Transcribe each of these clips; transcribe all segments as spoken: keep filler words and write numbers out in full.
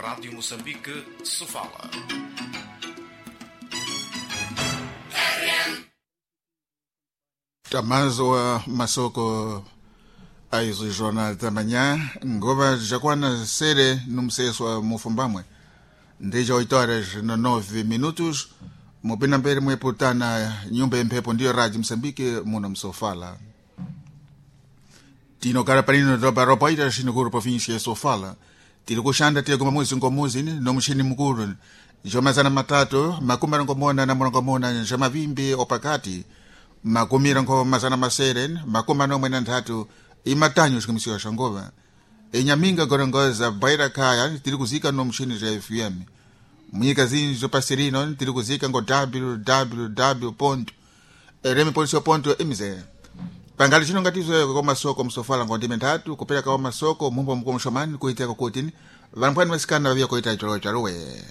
Rádio Moçambique, Sofala. Tamazo masoko aizo jornal da manhã ngova jakwana sere numseso mufumbamwe ndija oito horas na nove minutos mupina mbere mweputana nyumba yemphepo ndiyo Rádio Moçambique muno msofala tinokala panino tobaropoita xinukuru província ya Sofala tiri kuxanda tiye kuma muzi ngomuzi nomuxini mukulu jomazana matatu makumi arongomona na murongomona ja mavimbi opakati makumi rongo mazana masere makumi manomwe na nthatu imatanyo xikumisiwa xa ngova enyaminga gorongoza baira kaya tiri kuzika nomuxini ja F M munyika zinji zopasirino tiri kuzika ngo w w w ponto rm ponto mz pangali chino ngatizo kwa masoko msofala ngo ndime nthatu kupereka kwa masoko mumbo mukulu mxomani kuiteka kutini vanphwani vasikana vaviya kuita chalo chaluwe.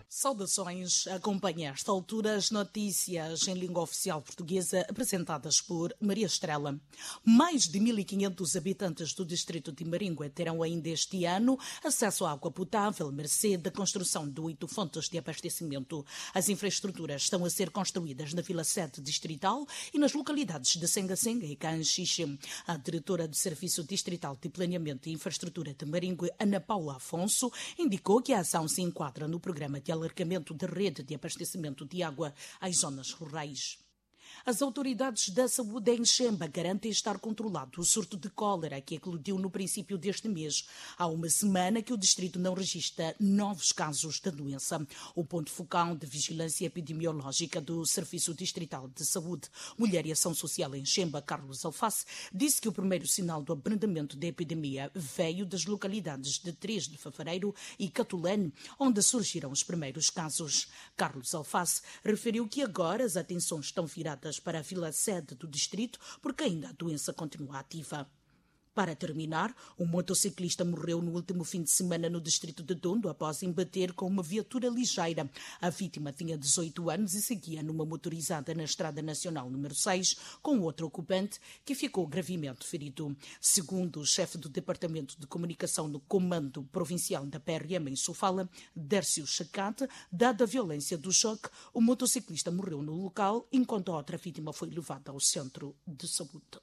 Saudações. Acompanhe a esta altura as notícias em língua oficial portuguesa apresentadas por Maria Estrela. Mais de mil e quinhentos habitantes do distrito de Maringue terão ainda este ano acesso à água potável, mercê da construção de oito fontes de abastecimento. As infraestruturas estão a ser construídas na Vila Sede Distrital e nas localidades de Senga Senga e Canxixe. A diretora do Serviço Distrital de Planeamento e Infraestrutura de Maringue, Ana Paula Afonso, indicou que a ação se enquadra no programa de alargamento da rede de abastecimento de água às zonas rurais. As autoridades da saúde em Xemba garantem estar controlado o surto de cólera que eclodiu no princípio deste mês. Há uma semana que o distrito não registra novos casos da doença. O ponto focal de vigilância epidemiológica do Serviço Distrital de Saúde, Mulher e Ação Social em Xemba, Carlos Alface, disse que o primeiro sinal do abrandamento da epidemia veio das localidades de três de fevereiro e Catulene, onde surgiram os primeiros casos. Carlos Alface referiu que agora as atenções estão viradas para a vila sede do distrito, porque ainda a doença continua ativa. Para terminar, um motociclista morreu no último fim de semana no distrito de Dondo após embater com uma viatura ligeira. A vítima tinha dezoito anos e seguia numa motorizada na Estrada Nacional número seis com outro ocupante que ficou gravemente ferido. Segundo o chefe do Departamento de Comunicação no Comando Provincial da P R M em Sofala, Dércio Chacate, dada a violência do choque, o motociclista morreu no local, enquanto a outra vítima foi levada ao centro de saúde.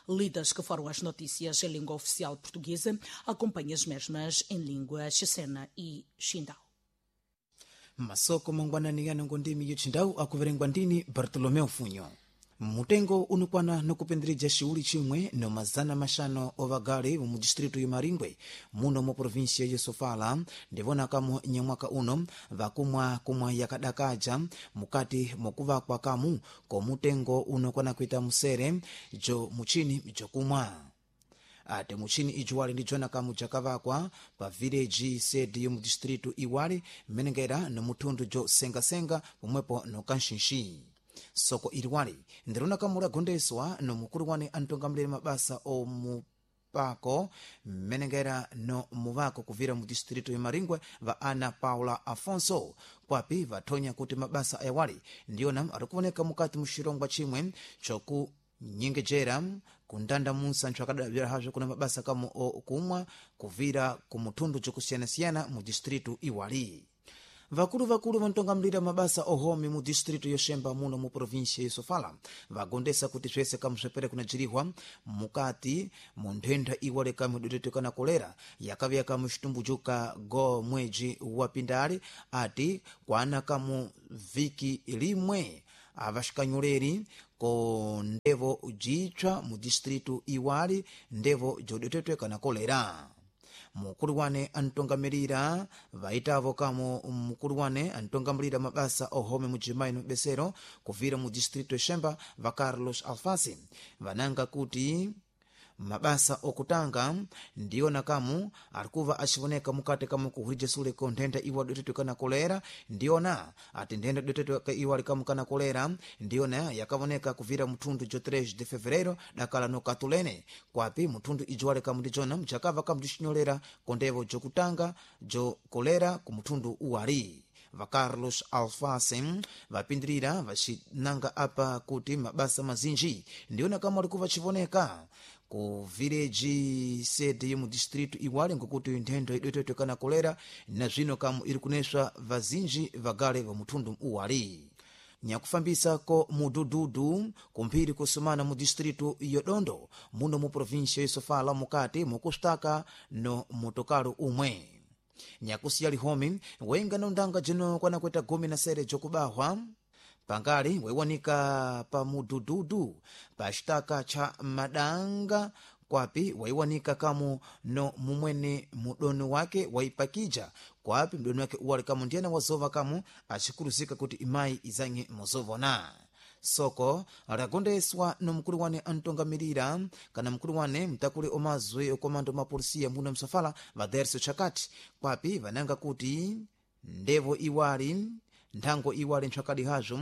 Lidas que foram as notícias em língua oficial portuguesa, acompanhe as mesmas em língua chechena e xindau. Masoko mangwanani yanongo ndimi yochindau akuverengwa ndini Bartolomeu Funyo. Mutengo unukwana nokupindirija xiuli chimwe no mazana maxano ovagali mu distrito ya Maringwe muno mu província ya Sofala ndivona kamo nyamwaka uno vakumwa kumwa yakadakaja mukati mokuvakwa kamu komutengo unokwana kuita musere jo muchini jokumwa ate muchini ijuwali ndi jona kamu jakavakwa pa village sede yomu distrito iwali mmenengera no muthundu jo sengasenga pomwepo no kanxinxi. Soko iliwali ndirona kamula gondeswa no mukulu wane antongamulire mabasa omupako mmenengera no muvako kuvira mu distrito ya Maringwe va Ana Paula Afonso kwapi vathonya kuti mabasa ayawali ndiyona arikuoneka mukati muxirongwa chimwe choku nyengejera kundanda musa nthu akadabzera hazvo kuna mabasa kamo okumwa kuvira ku muthundu jokusiyanasiyana mu distrito iwali. Vakulu vakulu vantongamulira mabasa ohomi mu distrito yoxemba muno mu província ya Sofala vagondesa kuti swese kamuswepere kunajirihwa mukati mu nthenda iwale kamudotetekana kolera yakavya kamu xitumbujuka go mwedzi wa pindali ati kwana kamu viki limwe avaxikanyoleri ko ndevo jitswa mu distrito iwali ndevo jodotetwekana kolera. Mukulu wane antongamirira vaitavo kamo mukulu wane antongamirira mabasa ohome mujimayi no besero kuvira mu distrito Xemba va Carlos Alfasi vananga kuti mabasa okutanga ndiyona kamu arikuva axivoneka mukati kamu kuhwija sule ko nthenda iwa dotetwe kana kolera ndiyona ati nthenda dotetwe iwa likamu kana kolera ndiyona yakavoneka kuvira muthundu jo três de fevereiro dakala no katulene kwapi muthundu ijuwale kamu ndijona mjakava kamu dixinyolera kondevo jokutanga jo kolera ku muthundu uwali. Va Carlos Alfase vapindirira vacinanga apa kuti mabasa mazinji ndiona kama ali kuvacivoneka ku vileji sede yomu distrito iwali, ngokuti nthendo idwetwetwe kana kolera na zwino kamu iri kuneswa vazinji vagale va muthundu uwali. Nyakufambisa ko mudududu kumphiri kusumana mu distrito yodondo muno mu província yosofala mukati mukusitaka no motokalo umwe. Nyakusiya lihomi wenga na undanga jino kwanakweta gumi na sere jokubahwa pangali waiwanika pa mudududu pa xitaka cha madanga, kwapi waiwanika kamu no mumwene mudoni wake waipakija, kwapi mdoni wake uwali kamu ndiyena wazova kamu acikuluzika kuti imayi izanye muzovona. Soko lagondeswa no mkulu wane antongamirira kana mkulu wane mtakuli omazwe okomando mapolisiya muno msofala vaderso chakati, kwapi vananga kuti ndevo iwali nthango iwali ntswakadi hazvo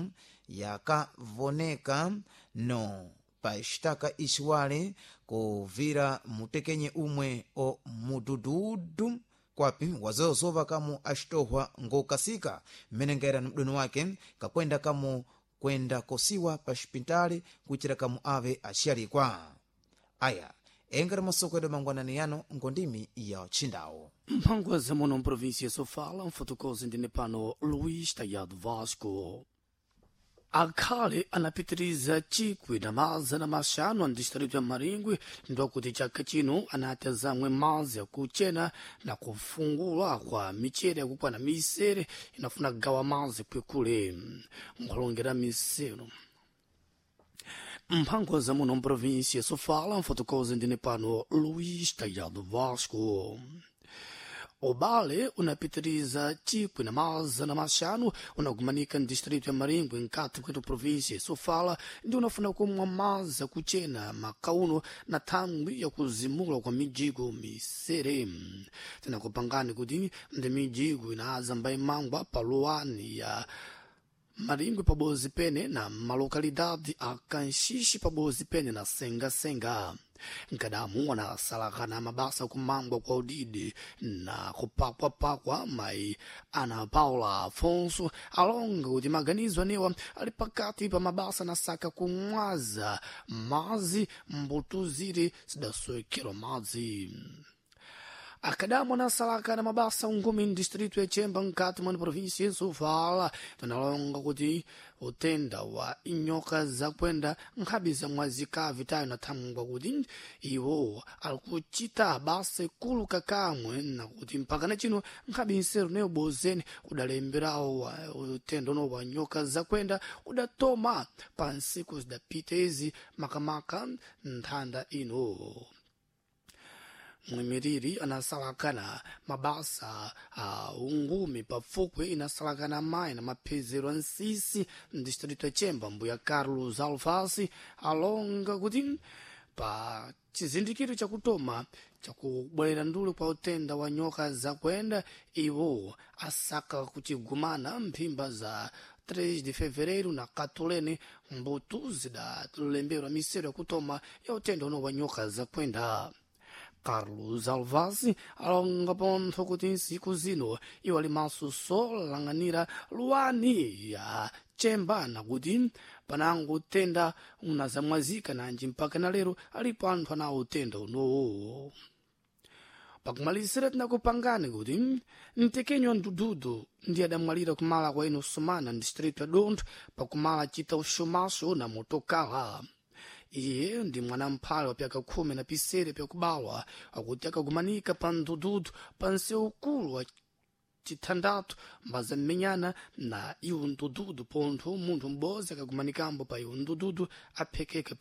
yakavoneka no paxitaka ixiwale kuvira mutekenye umwe o mudududu, kwapi wazozova kamu axitohwa ngokasika mmenengera ni mdoni wake kakwenda kamu kwenda kosiwa pa xipitali kuitira kamu ave axiyalikwa. Aya engari masoko edu mangwanani yano ngondimi ya txindawo. Mphangwa muno mprovíncia Sofala, mfotokozi ndine pano Luís Tayado Vasco. Akhale anapitiriza chikwi na mazana maxanu a distrito ya Maringwe ndokuti chaka chino anati azamwe mazi akuchena na kufungula kwa michere yakukwana misere inafuna kugawa mazi kwekule nkulongera misero. Mphango za muno mprovíncia Sofala, mfotokozi ndine pano Luís Tayado Vasco. Ubale unapitiriza chikwi na mazana maxanu unagumanika ndistrito ya Maringwe nkati kwetu província Sofala ndi unafuna kumwa mazi akuchena makauno na thangwi yakuzimula kwa mijigo misere. Tinakupangani kuti ndi mijigo inaadza mbayimangwa pa luwani ya Maringwe pabozi pene na malokalidade a Kanxixi pabozi pene na Senga-Senga. Nkadamu wanasalakana mabasa kumangwa kwa udidi na kupakwapakwa mayi Ana Paula Afonso alonga kuti maganizo anewa ali pakati pa mabasa na saka kumwaza mazi mbuto zire zidasowekerwa madzi. Akadamu anasalaka na mabasa ungumi ndistrito ya Chemba nkati mwa província ya Sofala tanalonga kuti utenda wa inyoka zakwenda nkhabi za mwazikavi tayo nathangwa kuti iwo alikuchita basa ikulu kakamwe nakuti mpaka na chino nkhabi nseru neyo bozeni udalemberawo utenda uno wa nyoka zakwenda udatoma pa nsiku zidapita izi makamaka nthanda ino. Mwimiriri anasalakana mabasa a ungumi pafukwe inasalakana mayi na maphezero a nsisi mdistrito ya Chemba mbuya Carlos Alfasi alonga kuti pa chizindikiro chakutoma chakubwerera ndule kwa utenda wa nyoka zakwenda iwo asaka kuchigumana mphimba za três de fevereiro na Katolene mbuto zidalemberwa misero yakutoma ya utenda uno wa nyoka zakwenda. Carlos Alvaz alonga pontho kuti nsiku zino iwo ali maso solang'anira luwani ya Chemba nakuti panango utenda unazamwazika nanji mpaka na lero alipo anthu anawo utenda unowo. Pakumalizira tinakupangani kuti mtekenyo ndududu ndi adamwalira kumala kwa ino Sumana distrito ya Dontho pakumala chita uxumaxo na motokala. Iye ndi mwana mphale wa pyaka khumi na pisere pyakubalwa akuti akagumanika pa ndududu pa nsewu ukulu wa chithandathu mbazammenyana na iwo ndududu pontho munthu m'bodzi akagumanikambo pa iwo ndududu aphekeka